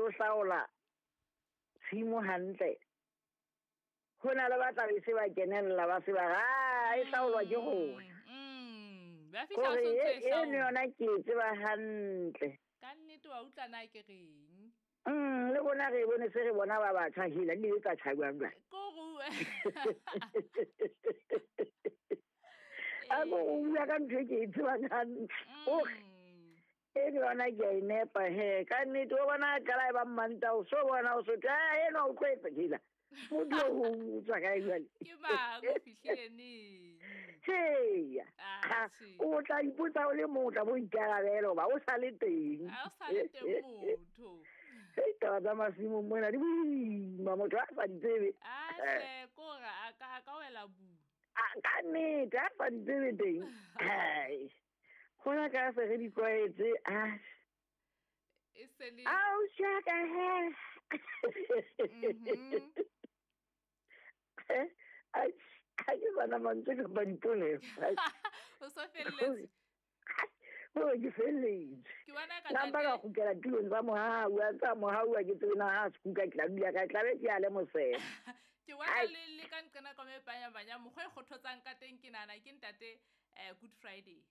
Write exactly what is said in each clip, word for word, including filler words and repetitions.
o hlaola tshimo hantle ho na le ba tla be se ba kenella ba se ba ra e hlaolwa ke rona. Mm. Ba fihla o sontso e hlaola. Eno yona ke e tseba hantle. Ka nnete wa utlwa na ke reng? Mm, le bona re bone se re bona ba batjha hela le tsa tjha jwang jwang. Ko rue. A ko o bua ka ntho e ke e tsebang hantle. E ke yona ke a e nepa he. Ka nnete o bona a qala e ba mmanta o so bona o so tla eno o tlo etsa hela. Motho o tswa kae jwale? Ke mang o fihlile neng? Heya. O tla ipotsa o le mong o tla bo ikarabela hoba o sa le teng. Ha o sa le teng motho. Hei, taba tsa masimong mona di boima, motho a sa di tsebe. A hle, ko re a ka, a ka wela bu. A ka nnete, a sa di tsebe teng. Hai. Hona ka se re di tlwaetse, ah. E se le Au, shaka he. Mhm. Ai, ha ke bana mantswe kapa dipolelo. O so felletse. O ke felletse. Ke bona ka Nka mpa ka kgutlela tulong tsa mohau, a tsa mohau a ke tsebe na ha se kuka ke tla dula kae, tla be ke ya le mosela. Ke bona le, le ka nqena ka me panya banya mokgwa e kgothotsang ka teng ke nahana ke ntate, eh, Good Friday.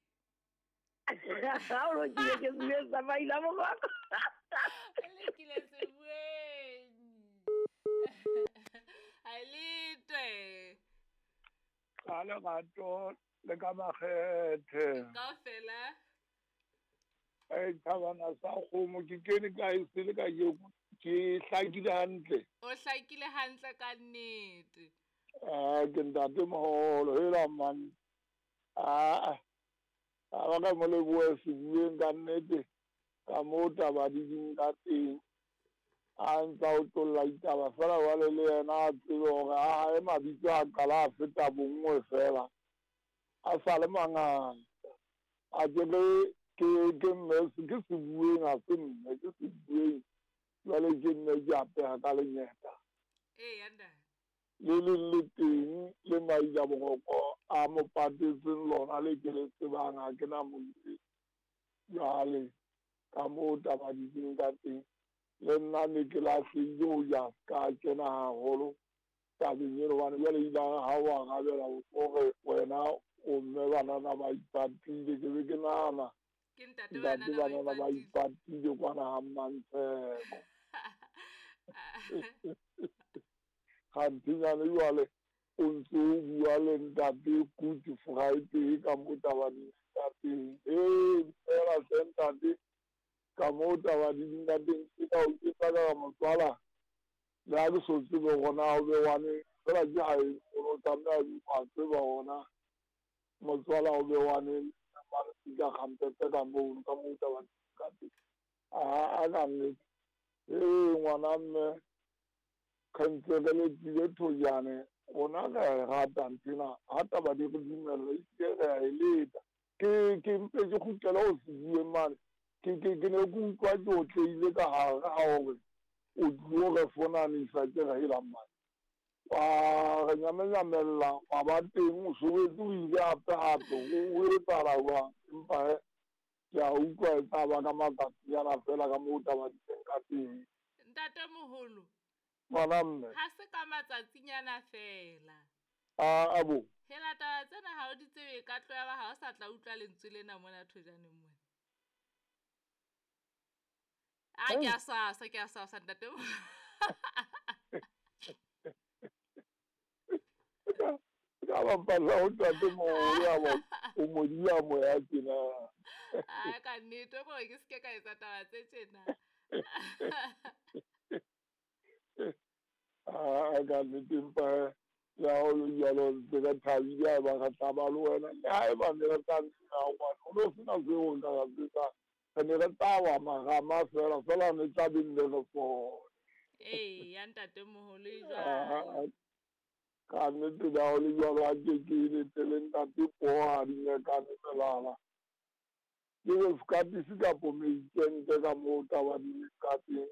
Ha o lokile ke se sa maila mokgwa. Le kile se bueng. A letwe. Ka lerato le ka makgethe. Kaofela. Ai, thabana sa kgomo ke kene ka e sele ka ke, ke hlakile hantle. O hlakile hantle ka nnete. Ah, ke ntate moholo, hela man. Ah, a ba ka mo lebohe sebueng ka nnete, ka moo taba di ding ka teng. A ntsa o tlolla ditaba fela jwale le yena a tsebe hore a hae mabitso a qala a feta bonngwe fela. A sa le mangata. A ke re ke, ke mme, ke sebueng ha se mme, ke sebueng. Jwale ke nne ke apeha ka lenyeta. Ee, ntate. Le leng le teng le maila boroko a mo patetseng lona le ke le tsebang ha ke na motse. Jwale ka moo taba di ding ka teng. Le nna ne ke lahlehile ho ya ka kena haholo tabeng eno hobane jwale ile ha o arabela hore wena o mme banana ba ipatile, ke be ke nahana Ke ntate ntate banana ba banana ba ipatile. ipatile kwana ha Mmantsheko. Kgantenyane jwale o ntso o bua le ntate Good Friday ka moo taba di leng ka teng. Ee, fela hle ntate ka moo taba di leng ka teng, ke ka o tsetsa ka motswala. Le ha ke so tsebe hore na o be wane, fela ke ha e o tlameha wa tseba hore na motswala o be wane ka kgampetse ka moo, ka moo taba di leng ka teng. A, a ka nnete. Ee, ngwana mme, re ntse re letile thojane, rona re a e rata nthwena, ha taba di re dumella, ehlile re a e leta. Ke, ke mpe ke kgutlele ho se bueng mane. Ke, ke, ke ne ke utlwa ke otlehile ka hare ha hore o tlilo re fonanisa ke re hela mane. Wa re nyamenyamella, wa ba teng, o sobetse o ile hape hape, o, o etsahala jwang? Empa he, ke a utlwa e tla ba ka matsatsi ana fela ka moo taba di teng ka teng. Ntate moholo. Ngwana mme. Ha se ka matsatsinyana fela. A, a bo. Hela taba tsena ha o di tsebe ka tloya ba ha o sa tla utlwa lentswe lena mona thojaneng mona. A ke a swasa, ke a swasa ntate. Ka bapala ho ntate moholo ya bo, o mo dia moya tjena. A ka nnete gore ke se ke ka etsa taba tse tjena. A ka nnete empa le ha ho le jwalo ntse re thabile ha eba re tla ba le wena. Le ha eba ne re tla nna ngwana, ho no sena seo nka se etsang. Re ne re tla wa marama fela, fela ne tla be nne re fole. Ee, ya ntate moholo e Ah, jwalo. Ka nnete le ha ho le jwalo ha ke ke letele ntate poho ha di nyekane melala. Ke re sekatisi kapo meikente ka moo taba di leng ka teng.